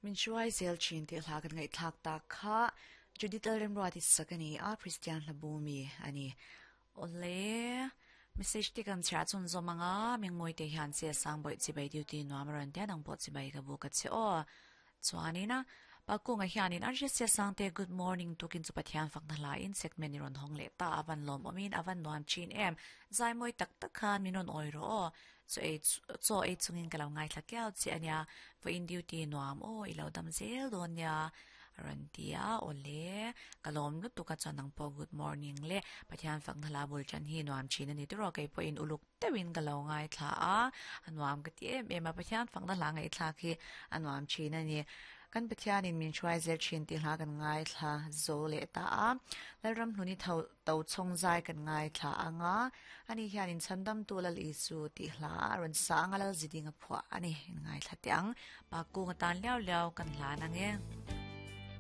Min hruai zel thin tih hla kan ngaihthlak tak kha Judith Lalremruati sak a ni a, Kristian hla bu mi a ni. Awle, message te kan chhiar chhun zawm ang a, Mingmawite hian che sang bawih chibai duty nuam a rawn tia nang pawh chibai ka bu ka che aw. Chuanin a, Pakunga hianin an hriat sia sangte good morning tukin chu Pathian fakna hla in segment i rawn hawng leh ta a van lawmawmin a van nuam thin em, zai mawi tak tak khan min rawn awi rawh aw. Chaw ei chaw ei chungin ka lo ngaithla kiau che a nia, vawiin duty nuam aw i lo dam zel dawn nia a rawn ti a, awle ka lawm lutuk a chuan nang pawh good morning le Pathian fakna hla bul tan hi nuam thin a ni tawh kei pawhin uluk deuhin ka lo ngaithla a, a nuam ka ti em em a, Pathian fakna hla ngaihthlak hi a nuam thin a ni. Kan Pathianin min hruai zel thin tih hla kan ngaithla zo leh ta a, Lalramhluni tho to chhawng zai kan ngaithla ang a, ani hianin Chhandamtu Lal Isu tih hla a rawn sa ang a, Lalziding a phuah a ni, in ngaithla teh ang. Pa kung atan liau liau kan hlan ang e.